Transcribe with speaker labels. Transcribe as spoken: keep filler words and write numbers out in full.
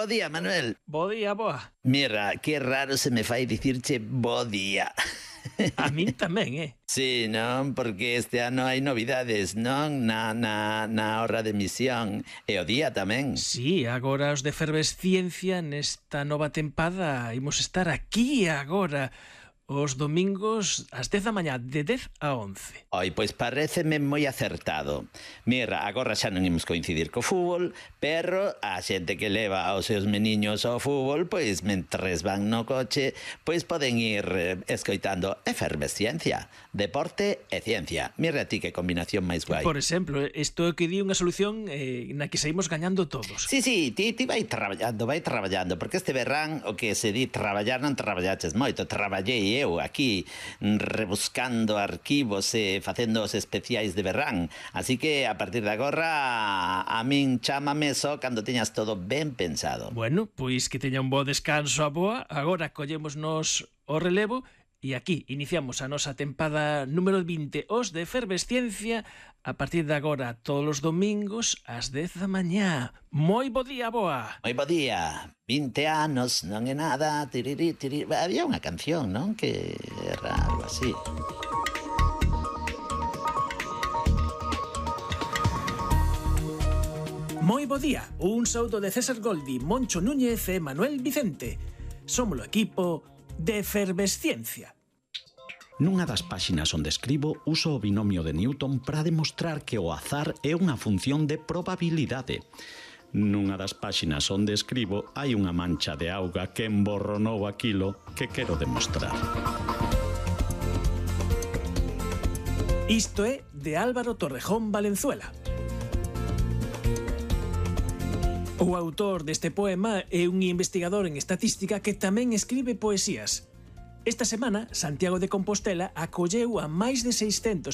Speaker 1: Bo día, Manuel.
Speaker 2: Bo día, boa.
Speaker 1: Mira, que raro se me fai dicirche bo día.
Speaker 2: A min tamén, eh?
Speaker 1: Sí, non? Porque este ano hai novidades, non? Na, na, na horra de emisión. E o día tamén.
Speaker 2: Sí, agora os de Efervesciencia nesta nova tempada imos estar aquí agora os domingos ás dez da mañá, de dez a once.
Speaker 1: Oi, pois pareceme moi acertado. Mira, agora xa non imos coincidir co fútbol, pero a xente que leva os seus meniños ao fútbol, pois mentres van no coche, pois poden ir eh, escoitando Efervesciencia, deporte e ciencia. Mira ti que combinación máis guai.
Speaker 2: Por exemplo, isto é que di unha solución eh, na que saímos gañando todos.
Speaker 1: Sí, sí, ti, ti vai traballando, vai traballando, porque este verán o que se di traballar non traballaches moito, traballei eu aquí rebuscando arquivos e facendo os especiais de verán, así que a partir de agora a min chámame só cando teñas todo ben pensado.
Speaker 2: Bueno, pois que teña un bo descanso a boa, agora collémonos o relevo e aquí iniciamos a nosa tempada número vinte, os de Efervesciencia, a partir de agora todos os domingos ás dez da mañá. Moi bo día, boa.
Speaker 1: Moi bo día. vinte anos non é nada. Tiriri, tiriri. Había unha canción, non? Que era algo así.
Speaker 2: Moi bo día. Un saúdo de César Goldi, Moncho Núñez e Manuel Vicente. Somos o equipo de Efervesciencia.
Speaker 3: Nunha das páxinas onde escribo uso o binomio de Newton para demostrar que o azar é unha función de probabilidade. Nunha das páxinas onde escribo hai unha mancha de auga que emborronou aquilo que quero demostrar.
Speaker 2: Isto é de Álvaro Torrejón Valenzuela. O autor deste poema é un investigador en estatística que tamén escribe poesías. Esta semana, Santiago de Compostela acolleu a máis de seiscentos